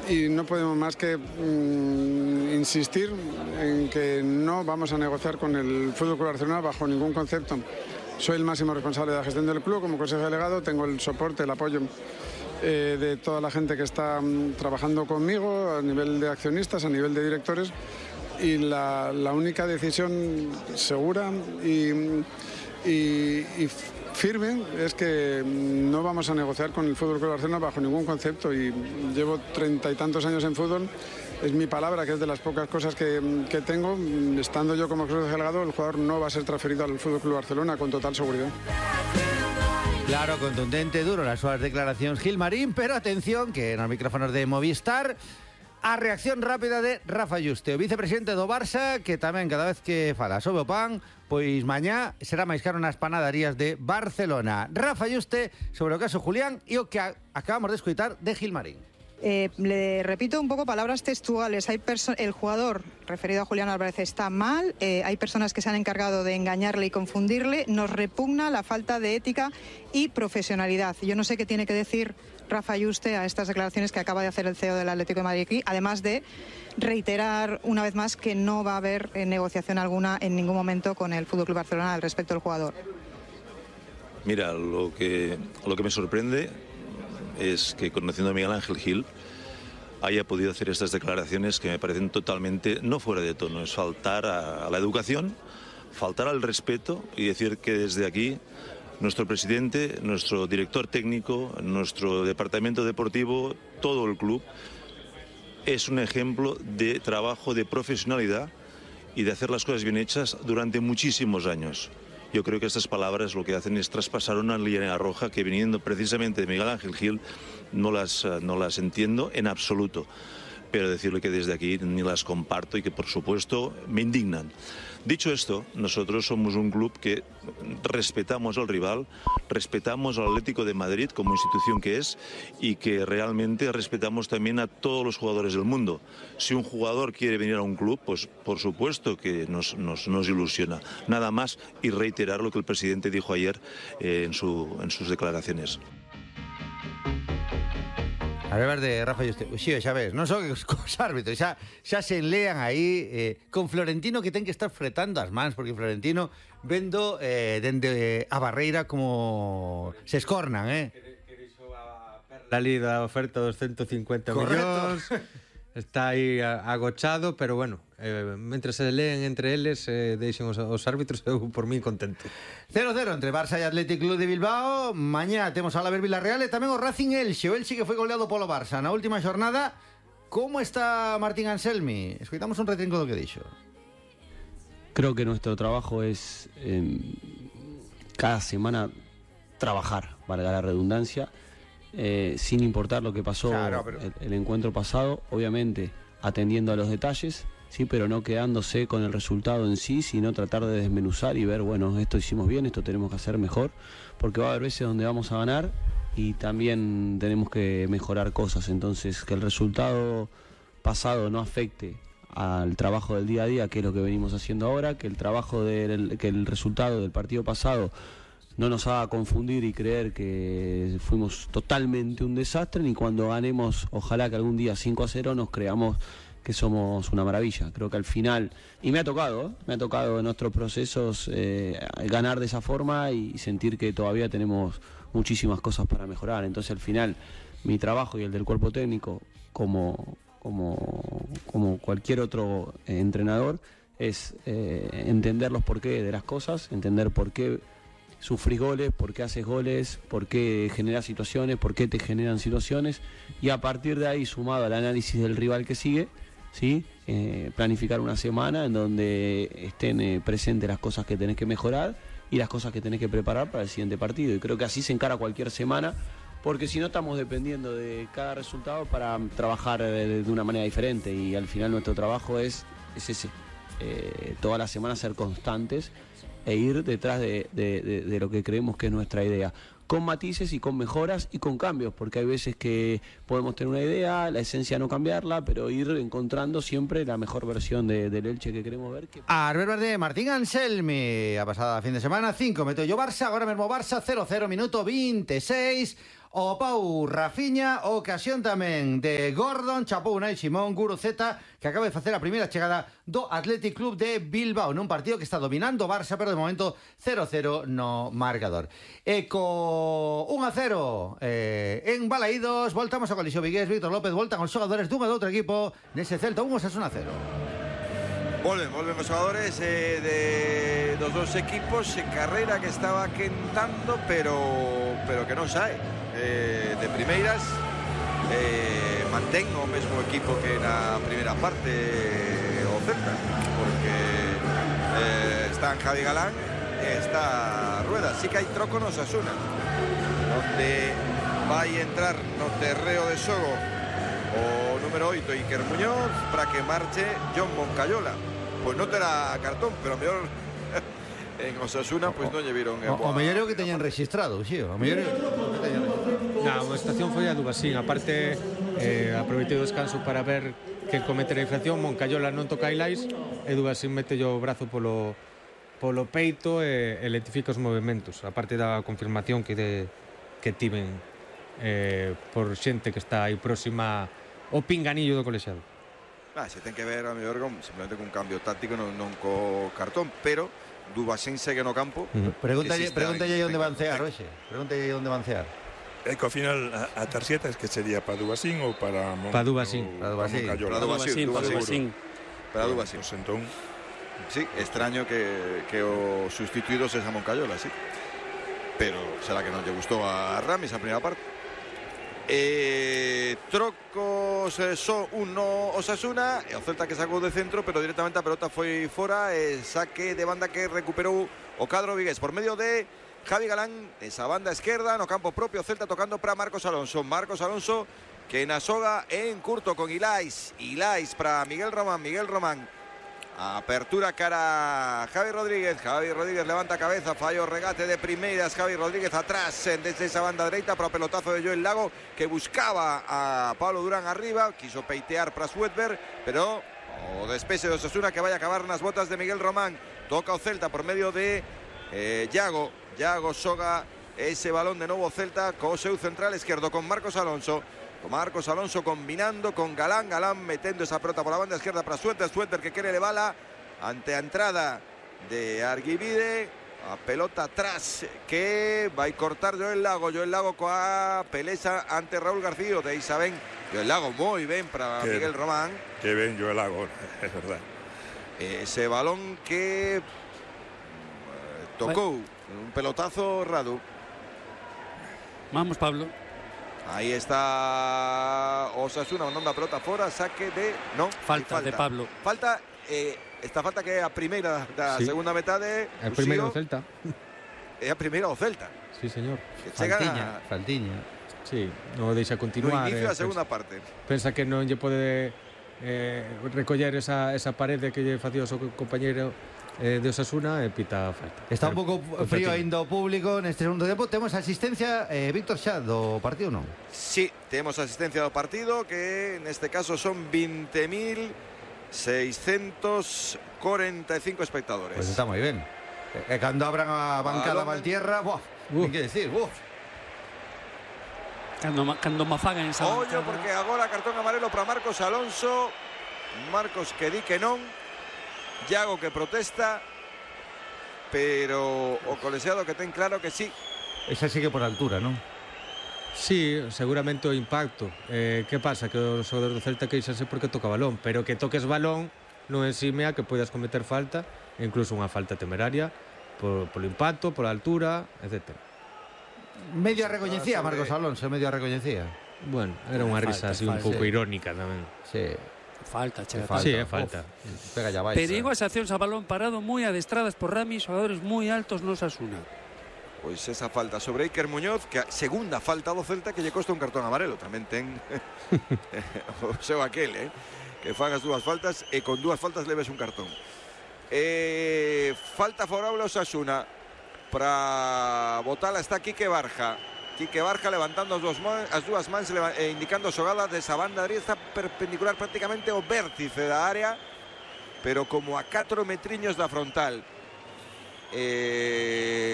Y no podemos más que insistir en que no vamos a negociar con el FC Barcelona bajo ningún concepto. Soy el máximo responsable de la gestión del club, como consejero delegado tengo el soporte, el apoyo de toda la gente que está trabajando conmigo a nivel de accionistas, a nivel de directores, y la única decisión segura y firme es que no vamos a negociar con el FC Barcelona bajo ningún concepto, y llevo 30 y tantos años en fútbol. Es mi palabra, que es de las pocas cosas que tengo. Estando yo como consejero delegado, el jugador no va a ser transferido al FC Barcelona con total seguridad. Claro, contundente, duro las súas declaracións Gilmarín, pero atención que nos micrófonos de Movistar a reacción rápida de Rafa Yuste, o vicepresidente do Barça, que tamén cada vez que fala sobre o pan, pois mañá será máis caro nas panadarías de Barcelona. Rafa Yuste sobre o caso Julián e o que acabamos de escoitar de Gilmarín. Le repito un poco palabras textuales. El jugador referido a Julián Álvarez está mal, hay personas que se han encargado de engañarle y confundirle, nos repugna la falta de ética y profesionalidad. Yo no sé qué tiene que decir Rafa Yuste a estas declaraciones que acaba de hacer el CEO del Atlético de Madrid aquí, además de reiterar una vez más que no va a haber negociación alguna en ningún momento con el FC Barcelona al respecto del jugador. Mira, lo que me sorprende es que, conociendo a Miguel Ángel Gil, haya podido hacer estas declaraciones que me parecen totalmente no fuera de tono. Es faltar a la educación, faltar al respeto, y decir que desde aquí nuestro presidente, nuestro director técnico, nuestro departamento deportivo, todo el club, es un ejemplo de trabajo, de profesionalidad y de hacer las cosas bien hechas durante muchísimos años. Yo creo que estas palabras lo que hacen es traspasar una línea roja que, viniendo precisamente de Miguel Ángel Gil, no las entiendo en absoluto. Pero decirle que desde aquí ni las comparto y que, por supuesto, me indignan. Dicho esto, nosotros somos un club que respetamos al rival, respetamos al Atlético de Madrid como institución que es, y que realmente respetamos también a todos los jugadores del mundo. Si un jugador quiere venir a un club, pues por supuesto que nos ilusiona. Nada más, y reiterar lo que el presidente dijo ayer en sus declaraciones. A ver, de Rafa Yuste, sí, xa ves, non son cos árbitros, xa se enlean aí con Florentino, que ten que estar fretando as mans, porque Florentino vendo dende a barreira como se escornan, Que dixo a Perla ali da oferta dos 150 millóns, está aí agochado, pero bueno, mentre se leen entre eles, deixen os árbitros, eu por mí contento. 0-0 entre Barça e Athletic Club de Bilbao. Mañá temos a Alavés Villarreal e tamén o Racing Elxe. O Elxe que foi goleado polo Barça na última xornada. Como está Martín Anselmi? Escoitamos un retrinco do que dixo. Creo que nuestro trabajo es cada semana trabajar, valga la redundancia, sin importar lo que pasó, claro, pero el encuentro pasado, obviamente atendiendo a los detalles, sí, pero no quedándose con el resultado en sí, sino tratar de desmenuzar y ver, bueno, esto hicimos bien, esto tenemos que hacer mejor, porque va a haber veces donde vamos a ganar y también tenemos que mejorar cosas. Entonces, que el resultado pasado no afecte al trabajo del día a día, que es lo que venimos haciendo ahora, que el resultado del partido pasado no nos haga confundir y creer que fuimos totalmente un desastre, ni cuando ganemos, ojalá que algún día 5-0 nos creamos que somos una maravilla. Creo que al final, y me ha tocado en nuestros procesos ganar de esa forma y sentir que todavía tenemos muchísimas cosas para mejorar. Entonces al final mi trabajo y el del cuerpo técnico como cualquier otro entrenador es entender los porqués de las cosas, entender por qué sufrís goles, por qué haces goles, por qué generas situaciones, por qué te generan situaciones, y a partir de ahí, sumado al análisis del rival que sigue, ¿sí? Planificar una semana en donde estén presentes las cosas que tenés que mejorar y las cosas que tenés que preparar para el siguiente partido. Y creo que así se encara cualquier semana, porque si no estamos dependiendo de cada resultado para trabajar de una manera diferente, y al final nuestro trabajo es ese, toda la semana ser constantes e ir detrás de lo que creemos que es nuestra idea, con matices y con mejoras y con cambios, porque hay veces que podemos tener una idea, la esencia no cambiarla, pero ir encontrando siempre la mejor versión del Elche que queremos ver. Arbel de Martín Anselmi, a pasada fin de semana 5, meto yo Barça, agora mesmo Barça 0-0, minuto 26, o Pau Rafiña, ocasión tamén de Gordon, chapou Unai Simón, Guruceta, que acaba de facer a primeira chegada do Athletic Club de Bilbao nun partido que está dominando Barça, pero de momento 0-0 no marcador. E co 1-0 en Balaídos, voltamos ao Colixo Vigués. Víctor López, voltan os xogadores dun e do outro equipo nese Celta 1, Osasuna 0. Volven os xogadores dos dos equipos en carreira que estaba quentando, pero que non sae de primeiras. Mantén o mesmo equipo que na primeira parte o Celta, porque están Javi Galán e está Rueda. Sí que hai troco no Osasuna, onde vai entrar no terreo de xogo o número 8 Iker Muñoz para que marche John Moncayola. Pois non terá cartón, pero a mellor en Osasuna pois non lle viron o mellor que teñan registrado, xío. O mellor que teñan registrado. A estación foi a Dubasín. Aparte, aproveitei o descanso para ver que comete a infracción. Moncayola non toca Ilais e Dubasín mete o brazo polo peito e lentifica os movimentos. Aparte da confirmación que tiven por xente que está aí próxima ao pinganillo do colexiado. Se ten que ver a mellor simplemente cun cambio táctico, non co cartón, pero Dubasín segue no campo. Pregúntalle onde van cear hoxe. Pregúntalle onde van cear. É que ao final a tarxeta es que sería para Dubasín ou para Dubasín. Para Dubasín. Pues entón, sí, extraño que o sustituído sexa Moncayola, sí. Pero será que non lle gustou a Ramis a primeira parte. Trocos só un no Osasuna e o Celta que sacou de centro, pero directamente a pelota foi fora e saque de banda que recuperou o cadro vigués por medio de Javi Galán, esa banda esquerda no campo propio. Celta tocando para Marcos Alonso que na soga en curto con Ilais para Miguel Román, apertura cara a Javi Rodríguez levanta cabeza, fallo regate de primeiras, Javi Rodríguez atrás desde esa banda dereita para o pelotazo de Joel Lago, que buscaba a Pablo Durán arriba, quiso peitear para Sweetberg, pero o despese de Osasuna que vai a acabar nas botas de Miguel Román. Toca o Celta por medio de Yago xoga ese balón de novo Celta co seu central esquerdo con Marcos Alonso combinando con Galán metendo esa pelota por la banda izquierda para Sweetberg que quere levala ante a entrada de Arguibide, a pelota atrás que vai cortar Joel Lago coa peleza ante Raúl García. De aí saben, Joel Lago moi ben para Miguel Román, que ben Joel Lago, é verdad. Ese balón que tocou un pelotazo Radu. Vamos, Pablo. Aí está Osasuna mandando a pelota fora, saque de... Non, falta de Pablo. Falta, esta falta que é a primeira da segunda metade. A primeira do Celta. É a primeira do Celta. Sí, señor. Faltiña. Sí, non deixa continuar. No inicio da segunda parte. Pensa que non lle pode recoller esa parede que lle facía o seu compañeiro de Osasuna e pita falta. Está un pouco frío ainda o público neste segundo tempo. Temos asistencia, Víctor, xa do partido, non? Sí, temos asistencia do partido, que neste caso son 20.645 espectadores. Pues está moi ben. E cando abran a bancada Valtierra, ten que decir, Cando mafagan esa bancada. Porque agora cartón amarelo para Marcos Alonso. Marcos que di que non. Yago que protesta, pero o colexiado que ten claro que sí. Esa sigue por altura, non? Sí, seguramente o impacto. Que pasa? Que os xogadores do Celta queixanse porque toca balón, pero que toques balón non ensime a que poidas cometer falta, e incluso unha falta temeraria polo impacto, pola altura, etc. Medio a recoñecía Marcos Alonso, medio a recoñecía. Bueno, era unha risa así un pouco irónica tamén. Sí. Falta, sí, é falta. Pega ya Perigosas accións a balón parado moi adestradas por Ramis, xogadores moi altos no Osasuna. Pois esa falta sobre Iker Muñoz, que a segunda falta do Celta que lle costa un cartón amarelo. Tamén ten o seu aquel, que fan as dúas faltas e con dúas faltas leves un cartón. Falta favorable ao Osasuna. Para botala está Quique Barja levantando as dúas mans indicando a xogada desa banda dereita, está perpendicular prácticamente ao vértice da área, pero como a 4 metriños da frontal.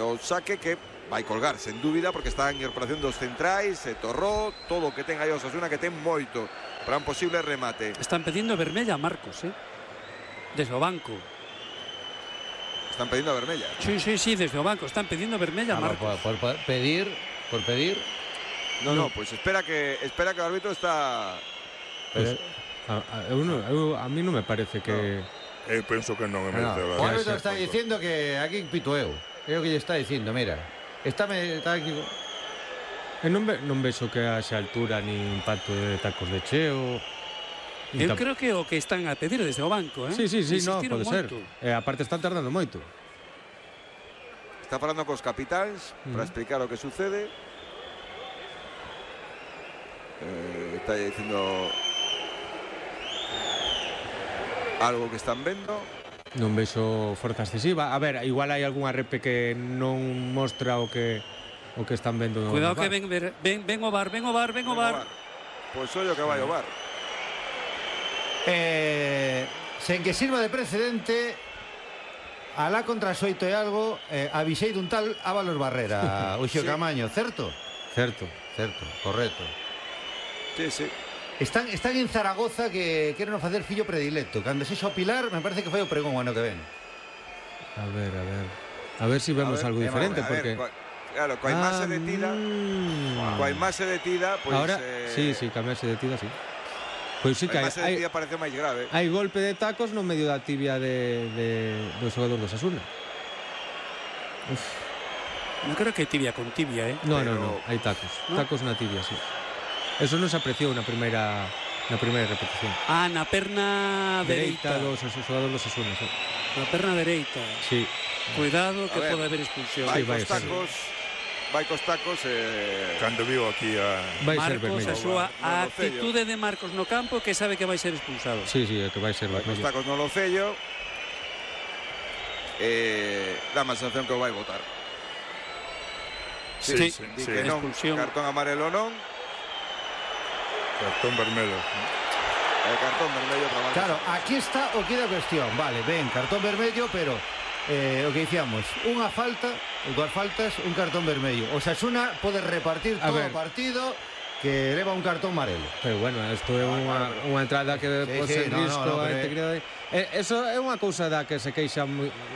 O saque que vai colgar, sen dúbida, porque están en operación dos centrais, Torró, todo o que ten aí Osasuna, que ten moito para un posible remate. Están pedindo vermella a Marcos, desde o banco. Están pedindo a vermella. Sí, desde o banco, están pedindo vermella a Marcos. Por pedir. No, pues espera que o árbitro está... Pues, a mí non me parece que... Eu penso que non. O árbitro está dicindo que aquí pito eu. É o que lle está dicindo, mira. Está aquí. Non vexo que haxa altura ni impacto de tacos de cheo. Eu creo que o que están a pedir desde o banco, Sí, no, pode ser. Aparte están tardando moito. Está falando cos capitáns para explicar o que sucede. Está dicindo algo que están vendo. Non vexo forza excesiva. A ver, igual hai algunha repe que non mostra o que están vendo. Cuidado que ven o bar. Pois ollo que vai o bar. Sen que sirva de precedente, alá contra as 8 e algo, avisei dun tal Ábalos Barrera, Uxo Camaño, certo? Certo, correcto. Sí. Están en Zaragoza que queren facer fillo predilecto. Cando se xo Pilar, me parece que foi o pregón o ano que ven. A ver si vemos algo diferente, porque... Claro, coa imaxe detida, pois... Ahora, sí, coa imaxe detida, sí. Pois sí que a imaxe detida parece máis grave. Hai golpe de tacos no medio da tibia do xogador do Osasuna. Non creo que tibia con tibia, No, hai tacos. Tacos na tibia, sí. Eso non se apreciou na primeira repetición. Na perna dereita do xogador do Osasuna, sí. Na perna dereita. Sí. Cuidado que pode haber expulsión. Vai cos tacos. Cando viu aquí a Marcos, a súa actitude de Marcos no campo, que sabe que vai ser expulsado. Sí, que vai ser vermello. Cos tacos no locello. Dá má sensación que o vai botar. Sí. Que non, cartón amarelo non. Cartón vermello. Cartón vermello para Marcos. Claro, aquí está o que da cuestión. Vale, cartón vermello, pero o que dicíamos, unha falta, dúas faltas, un cartón vermello. Osasuna pode repartir todo o partido que leva un cartón amarelo. Pero bueno, isto é unha entrada que pode ser risco a integridade. Eso é unha cousa da que se queixa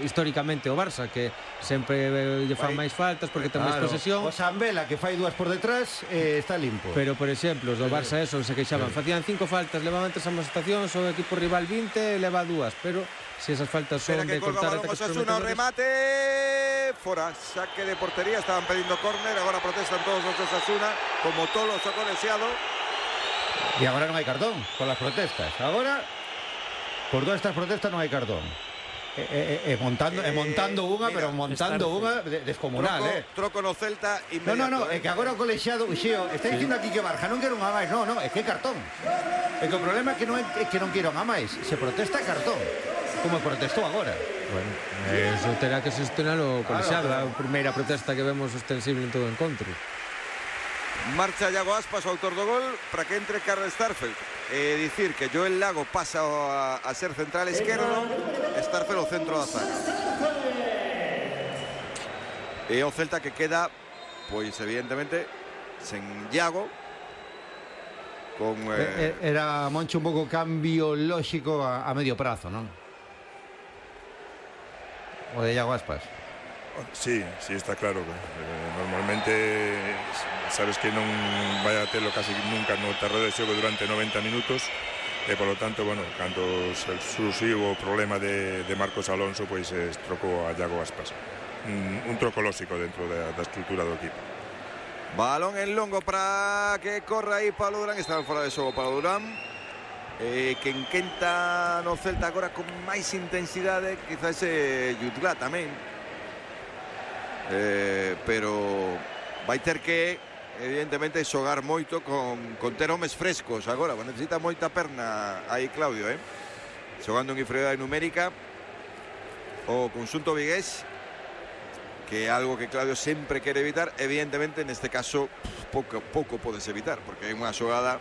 históricamente o Barça, que sempre lle fan máis faltas porque ten máis posesión. O Sambela, que fai dúas por detrás, está limpo. Pero, por exemplo, os do Barça eso se queixaban, facían 5 faltas, levaban 3 amonestacións, o equipo rival 20 leva 2, pero se esas faltas son de cortar ataques Osasuna, remate fora, saque de portería, estaban pedindo córner, agora protestan todos os de Osasuna, como todos os colexiado. E agora non hai cartón con las protestas. Agora, por todas estas protestas non hai cartón. Montando unha, pero montando unha descomunal, Troco no Celta inmediato. No, é que agora o colexiado, Uxío, está dicindo aquí que Barja non quero unha máis. No, é que é cartón. É que o problema é que non quero unha máis. Se protesta cartón, como protestou agora. Bueno, eso terá que sostener o colexiado, a primeira protesta que vemos ostensible en todo o encontro. Marcha Iago Aspas, o autor do gol, para que entre Karl Starfelt. Dicir que Joel Lago pasa a ser central esquerdo, Starfelt o centro da zaga. E o Celta que queda, pois evidentemente, sen Iago. Era, Moncho, un pouco cambio lóxico a medio prazo, non? O de Iago Aspas. Sí, está claro. Normalmente sabes que non vai a telo casi nunca no terreno de xogo durante 90 minutos e polo tanto, cando surxiu o problema de Marcos Alonso, pois trocou a Iago Aspas. Un troco lóxico dentro da estrutura do equipo. Balón en longo para que corra aí Pablo Durán, está fora de xogo Pablo Durán. Que enquenta no Celta agora con máis intensidade, quizás Jutgla tamén, pero vai ter que evidentemente xogar moito con ter homes frescos agora, necesita moita perna aí Claudio, xogando en inferioridade numérica o conxunto vigués, que é algo que Claudio sempre quere evitar. Evidentemente neste caso pouco podes evitar, porque é unha xogada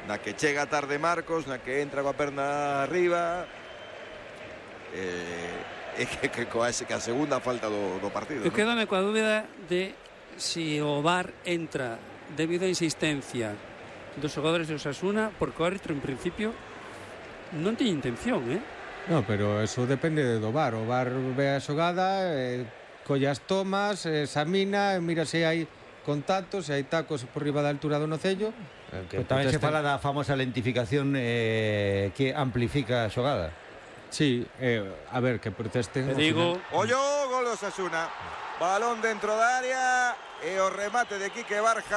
na que chega tarde Marcos, na que entra coa perna arriba, que a segunda falta do partido. Eu quedo coa dúbida de si o VAR entra debido a insistencia dos xogadores de Osasuna, porque o árbitro en principio non tiña intención, No, pero eso depende do VAR. O VAR ve a xogada, colle as tomas, examina, mira se hai contactos, se hai tacos por riba da altura do nocello. Tamén se fala da famosa lentificación que amplifica a xogada. Sí, a ver, que protesten. Te digo... Ollo, gol de Osasuna. Balón dentro da área e o remate de Quique Barja.